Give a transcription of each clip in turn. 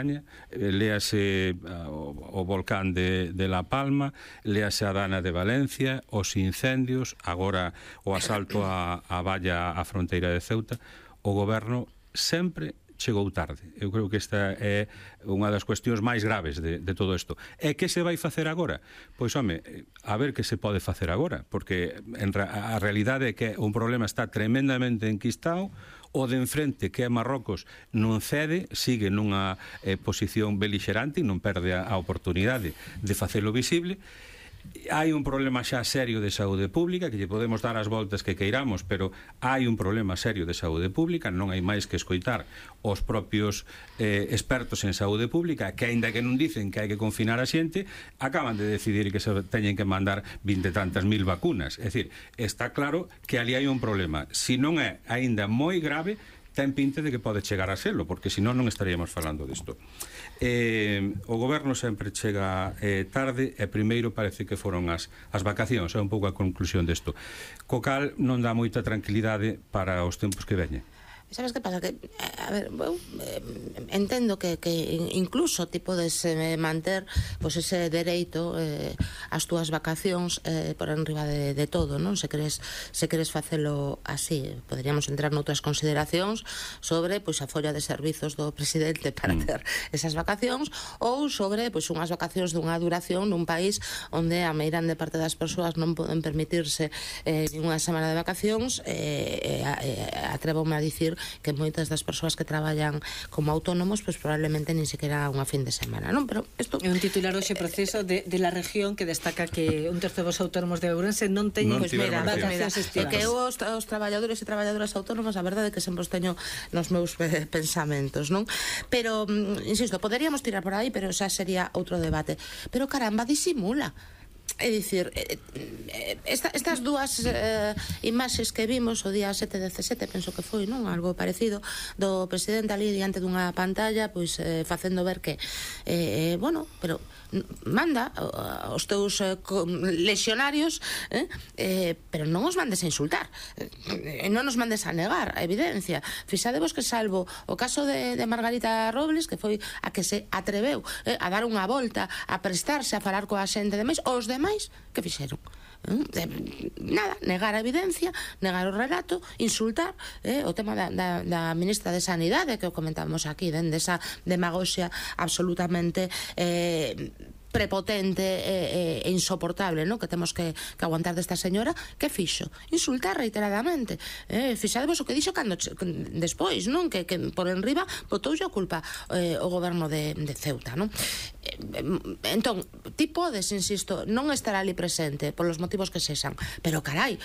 montaña, léase o volcán de La Palma, léase a Dana de Valencia, os incendios, agora o asalto a valla á fronteira de Ceuta. O goberno sempre chegou tarde. Eu creo que esta é unha das cuestións máis graves de todo isto. E que se vai facer agora? Pois, home, a ver que se pode facer agora, porque a realidade é que un problema está tremendamente enquistado, o de enfrente, que é Marrocos, non cede, sigue nunha posición belixerante e non perde a oportunidade de facelo visible. Hai un problema xa serio de saúde pública, que lle podemos dar as voltas que queiramos, pero hai un problema serio de saúde pública. Non hai máis que escoitar os propios expertos en saúde pública, que aínda que non dicen que hai que confinar a xente, acaban de decidir que se teñen que mandar 20 e tantas mil vacunas. É dicir, está claro que ali hai un problema. Se non é aínda moi grave, ten pinta de que pode chegar a selo, porque senón non estaríamos falando disto. O goberno sempre chega tarde, e primeiro parece que foron as vacacións, é un pouco a conclusión desto, co cal non dá moita tranquilidade para os tempos que veñen. Sabes que pasa? Que, a ver, eu entendo que incluso ti podes manter pois ese dereito as túas vacacións por enriba de todo, non? Se queres facelo así, poderíamos entrar noutras consideracións sobre pois a folla de servizos do presidente para ter esas vacacións, ou sobre pois unhas vacacións dunha duración nun país onde a meirande parte das persoas non poden permitirse ninguna semana de vacacións. Atrévome a dicir que moitas das persoas que traballan como autónomos pois probablemente nin sequera unha fin de semana, non? Pero isto é un titular hoxe preciso de la región que destaca que un terzo dos autónomos de Ourense non teñen vacacións estivadas. Que os traballadores e traballadoras autónomas, a verdade é que sempre os teño nos meus pensamentos, non? Pero, insisto, poderíamos tirar por aí, pero xa sería outro debate. Pero caramba, disimula. É dicir, estas dúas imaxes que vimos o día 7/17, penso que foi, non? Algo parecido, do presidente ali diante dunha pantalla, pois facendo ver que bueno, pero manda os teus lexionarios, pero non os mandes a insultar, non os mandes a negar a evidencia. Fixadevos que, salvo o caso de Margarita Robles, que foi a que se atreveu a dar unha volta, a prestarse a falar coa xente demais, os demais que fixeron? Nada, negar a evidencia, negar o relato, insultar. O tema da ministra de Sanidade, que o comentábamos aquí, dende esa demagoxia absolutamente prepotente e insoportable, non? Que temos que aguantar desta señora. Que fixo? Insultar reiteradamente. Fixadevos o que dixo cando despois, non? Que por enriba botoulle a culpa o goberno de Ceuta, non? Entón, ti podes, insisto, non estar ali presente polos motivos que sexan, pero carai,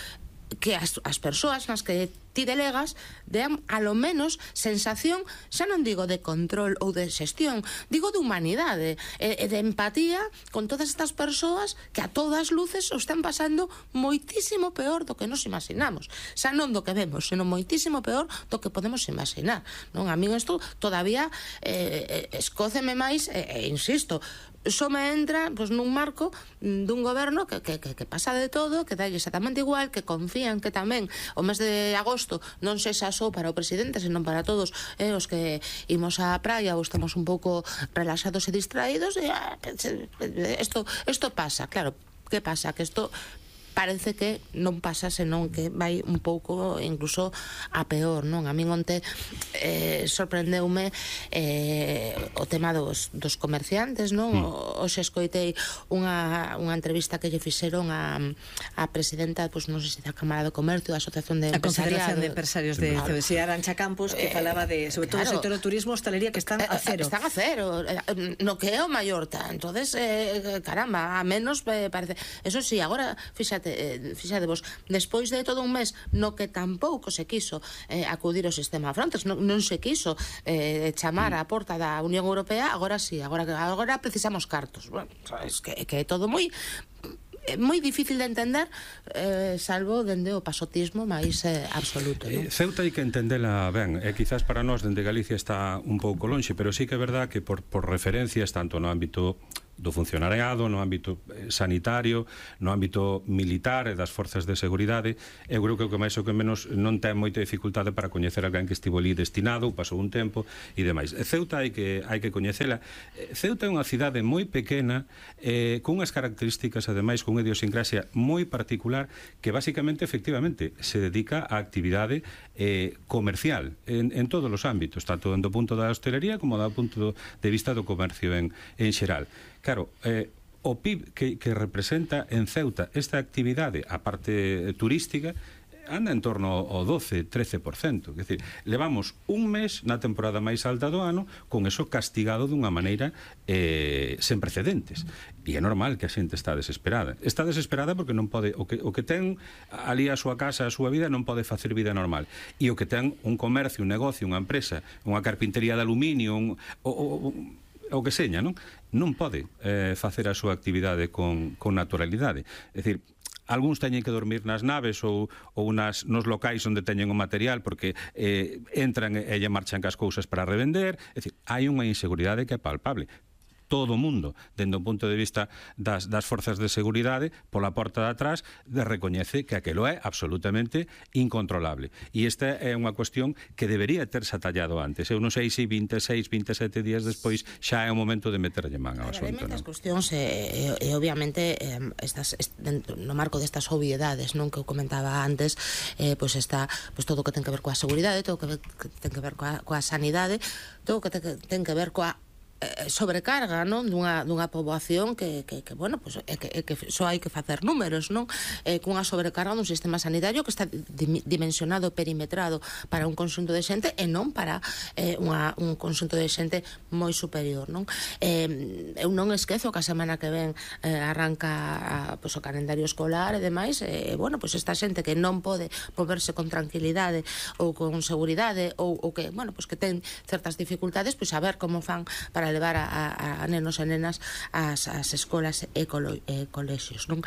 que as persoas nas que ti delegas dean a lo menos sensación, xa non digo de control ou de xestión, digo de humanidade e de empatía con todas estas persoas que a todas luces o están pasando moitísimo peor do que nos imaginamos, xa non do que vemos, senón moitísimo peor do que podemos imaginar, non? A mí isto todavía escóceme máis, insisto, só me entra pois nun marco dun goberno que pasa de todo, que dá exactamente igual, que confían que tamén o mes de agosto non sexa só para o presidente, senón para todos os que imos á praia ou estamos un pouco relaxados e distraídos. Isto pasa, claro. Que pasa? Que isto parece que non pasa, senón que vai un pouco incluso a peor, non? A min onte sorprendeume o tema dos comerciantes, non? Hoxe escoitei unha entrevista que lle fixeron a presidenta, pois non sei se da Cámara de Comercio, da Asociación de Confederación de Empresarios de Ceuta, Arantxa Campos, que falaba de, sobre todo, o sector do turismo, hostalería, que están a cero. Están a cero, no que é o Mallorca. Entonces, caramba, a menos parece. Eso sí, agora, fixadevos, despois de todo un mes no que tampouco se quiso acudir ao sistema Frontex, non se quiso chamar á porta da Unión Europea, agora sí, agora precisamos cartos. Bueno, es que é todo moi difícil de entender, salvo dende o pasotismo máis absoluto, non? Ceuta hai que entendela ben, e quizás para nós dende Galicia está un pouco lonxe, pero sí que é verdad que por referencias, tanto no ámbito do funcionariado, no ámbito sanitario, no ámbito militar e das forzas de seguridade. Eu creo que o que máis ou que menos non ten moita dificultade para coñecer alguén que estivo ali destinado, pasou un tempo e demais. Ceuta hai que coñecela. Ceuta é unha cidade moi pequena, con unhas características, ademais, con unha idiosincrasia moi particular, que basicamente, efectivamente, se dedica á actividade comercial en todos os ámbitos, tanto do punto da hostelería como do punto de vista do comercio en xeral. Claro, o PIB que representa en Ceuta esta actividade, a parte turística, anda en torno ao 12-13%. É dicir, levamos un mes na temporada máis alta do ano con eso castigado dunha maneira sen precedentes. E é normal que a xente está desesperada. Está desesperada porque non pode, o que ten ali a súa casa, a súa vida, non pode facer vida normal. E o que ten un comercio, un negocio, unha empresa, unha carpintería de aluminio, o que seña, non pode facer a súa actividade con naturalidade. É dicir, algúns teñen que dormir nas naves ou nos locais onde teñen o material porque entran e lle marchan cas cousas para revender. É dicir, hai unha inseguridade que é palpable. Todo o mundo, dende o punto de vista das forzas de seguridade, pola porta de atrás, recoñece que aquelo é absolutamente incontrolable. E esta é unha cuestión que debería terse atallado antes. Eu non sei se 26, 27 días despois xa é o momento de meterlle man ao asunto. Hai moitas cuestións e obviamente no marco destas obviedades, non, que eu comentaba antes, pois está todo o que ten que ver coa seguridade, todo o que ten que ver coa sanidade, todo o que ten que ver coa sobrecarga, non, dunha poboación que bueno, pues, que só hai que facer números, non, cunha sobrecarga dun sistema sanitario que está dimensionado, perimetrado para un conxunto de xente e non para un conxunto de xente moi superior, non. Eu non esquezo que a semana que ven arranca pues, o calendario escolar e demais, bueno, pues esta xente que non pode moverse con tranquilidade ou con seguridade ou que, bueno, pues que ten certas dificultades, pues a ver como fan para levar a nenos e nenas ás escolas e colexios, non?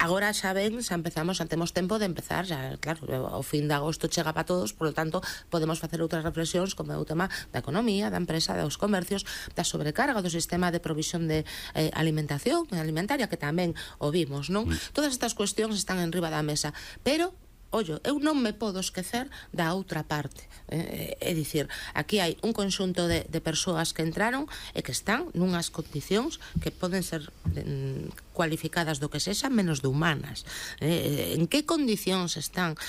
Agora xa ven, xa temos tempo de empezar, xa, claro, o fin de agosto chega para todos, por lo tanto, podemos facer outras reflexións como é o tema da economía, da empresa, dos comercios, da sobrecarga do sistema de provisión de alimentación alimentaria, que tamén o vimos, non? Todas estas cuestións están en riba da mesa, pero ollo, eu non me podo esquecer da outra parte. É dicir, aquí hai un conxunto de persoas que entraron e que están nunhas condicións que poden ser cualificadas do que sexa menos de humanas. En que condicións están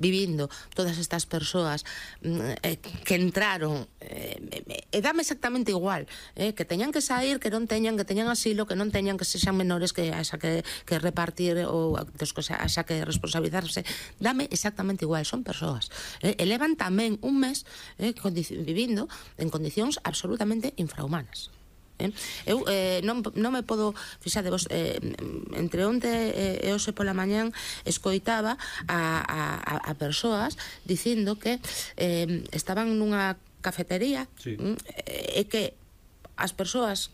vivindo todas estas persoas que entraron, e dame exactamente igual, que teñan que sair, que non teñan, que teñan asilo, que non teñan, que sexan menores, que haxa que repartir ou haxa que responsabilizarse, dame exactamente igual, son persoas. Elevan tamén un mes vivindo en condicións absolutamente infrahumanas. Eu non me podo, fixadevos, entre onte e hoxe pola mañán escoitaba a persoas dicindo que estaban nunha cafetería, sí, e que as persoas,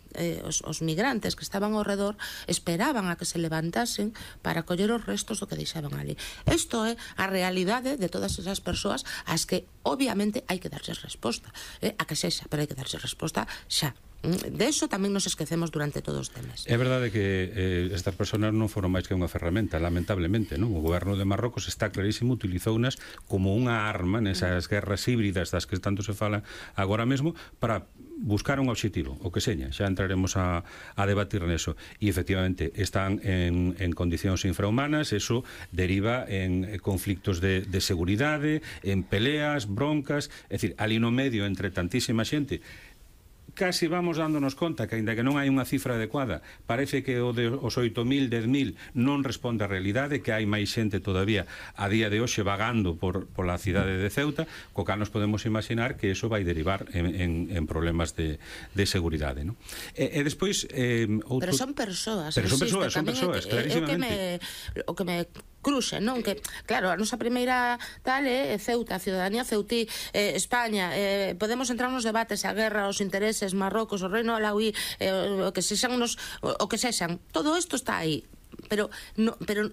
os migrantes que estaban ao redor, esperaban a que se levantasen para coller os restos do que deixaban ali. Isto é a realidade de todas esas persoas ás que obviamente hai que darlles resposta, a que sexa, pero hai que darlles resposta xa. De eso tamén nos esquecemos durante todos os temas. É verdade que estas persoas non foron máis que unha ferramenta, lamentablemente, non? O goberno de Marrocos está clarísimo, utilizounas como unha arma nesas guerras híbridas das que tanto se fala agora mesmo para buscar un obxectivo, o que seña, xa entraremos a debatir neso. E efectivamente están en condicións infrahumanas, eso deriva en conflictos de seguridade, en peleas, broncas, é dicir, ali no medio entre tantísima xente, casi vamos dándonos conta que, aínda que non hai unha cifra adecuada, parece que os 8.000, 10.000 non responde á realidade, que hai máis xente todavía a día de hoxe vagando pola cidade de Ceuta, co cal nos podemos imaginar que eso vai derivar en problemas de seguridade, non? E despois pero son persoas, pero son persoas, clarísimamente. O que me cruxe, non? Que, claro, a nosa primeira tal é Ceuta, a ciudadanía ceutí, España, podemos entrar nos debates, a guerra, os intereses, Marrocos, o reino alauí, o que sexan, todo isto está aí. pero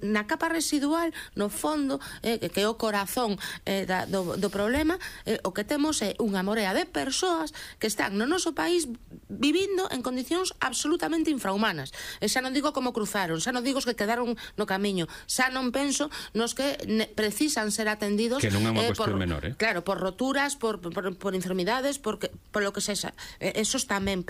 na capa residual, no fondo, que é o corazón do problema, o que temos é unha morea de persoas que están no noso país vivindo en condicións absolutamente infrahumanas. E xa non digo como cruzaron, xa non digo os que quedaron no camiño, xa non penso nos que precisan ser atendidos, que non é unha cuestión menor, claro, por roturas, por enfermidades, por lo que sexa, esos tamén,